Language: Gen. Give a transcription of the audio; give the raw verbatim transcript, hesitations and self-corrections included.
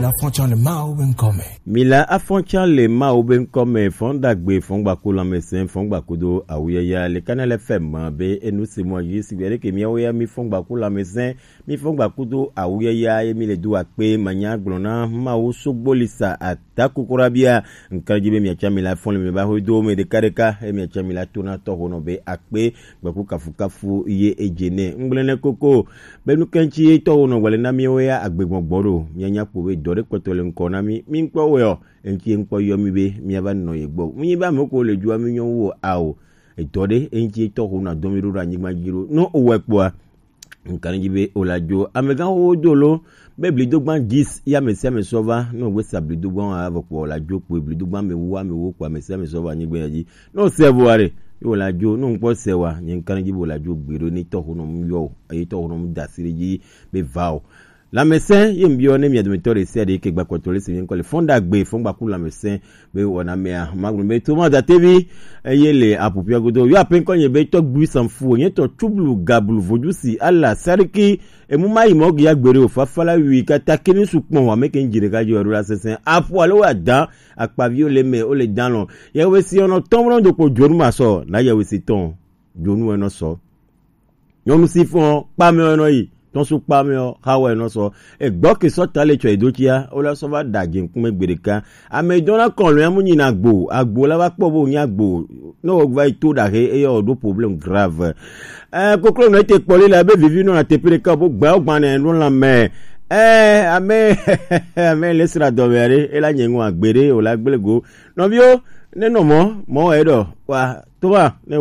Afɔtsa le Mawu be ŋkɔ me. Mila afɔtsa le Mawu be ŋkɔ me, fɔn dagbe, fɔn gbaku lãmesẽ, fɔn gbakudo awuyaya le Kanal F M be enu si mɔ dzi sigbe ɖeke miawo ya mi fɔn gbaku lãmesẽ, mi fɔn gbakudo awuyaya ye mi le do akpe manya gblɔ na Mawu sogbo lisa ata kukurabia. Ŋkadzi be miatsa mi la fɔn le mi ba ho do me ɖeka ɖeka, e miatsa mi la to na tɔho nɔ be akpe gbaku kafukafu ye edze nɛ. Ŋgblẽ nɛ koko. Be nu ka ŋuti tɔwo nɔ gbalẽ na míawo ya agbegbɔgbɔ ɖo? Míanya kpo be dɔ ɖe kpɔtɔ le ŋkɔ na mí. Mí ŋkpɔ wɔe ɔ, eŋuti ŋkpɔ yɔ mí be míava nɔ ye gbɔ. Mí nyi be ame ko le dua mí nyɔ wu o ao. Edɔ ɖe eŋuti tɔwo na dɔ mí ɖo ɖo anyigba dzi ɖo. No owɔe kpɔa, ŋka ne dzi be o la dzo. Amegã wo do lo be blidogban dix ya ame sia ame sɔ va. No gbe sa blidogban wa vɔ kpɔ o la dzo kpo blidogban me wu ame wo kpɔ ame sia ame sɔ va anyigba ya dzi. No se vo are. Yo la dzo, no ŋkpɔ se wa, nye ŋka ne dzi be o la dzo gbe ɖo ne tɔwo nɔ mu yɔ o. Eye tɔwo nɔ mu da si ɖe dzi be va o. Lãmesẽ ye ŋbiɔ ne mia dometɔ ɖe sia ɖe ke gba kpɔtɔ le se mi ŋkɔ le fɔn ɖagbe, fɔn gbaku lãmesẽ be wɔna mea. Magblɔ be Thomas Datevi eye le apupia godo. Yo ape ŋkɔ nye be tɔgbui sanfu, nye tɔ tsublu gablu vodusi ala sariki emu mayi mɔ gi agbe ɖe o fafa la wi kata kini su kpɔn wa me ke ŋdzi ɖeka dzi wa ɖo la sesẽ. Apu alo wa dan akpaviwo le me o le dan lɔ. Yewe si ɔnɔ tɔn mlɔ do kpo dzonu ma sɔ, na yewe si tɔn dzonu enɔ sɔ. Nyɔnu si fɔn kpamɛ ɔ nɔ yi, tɔnsu kpamɛ ɔ, xawɔ enɔ sɔ. Egbɔ ke sɔ ta le tsɔ edo tsia, o la sɔ va da dze ŋkume gbe ɖeka. Ame dɔn na kɔn lo ya mu nyi na agbo, agbo la va kpɔ bo nyi agbo. Ne o va yi to ɖaxe, eye o ɖo problème grave. Ɛ, koklo nɔ ete kpɔ li la be vivi nɔ na teƒe ɖeka bo gba o gba ne nɔ la mɛ. Ɛ, ame, ame le sra dɔ mɛ ɖe, e la nye ŋu agbe ɖe, o la gble go. Nɔviwo, ne nɔ mɔ, mɔ wɔ eɖɔ, wa, to va, ne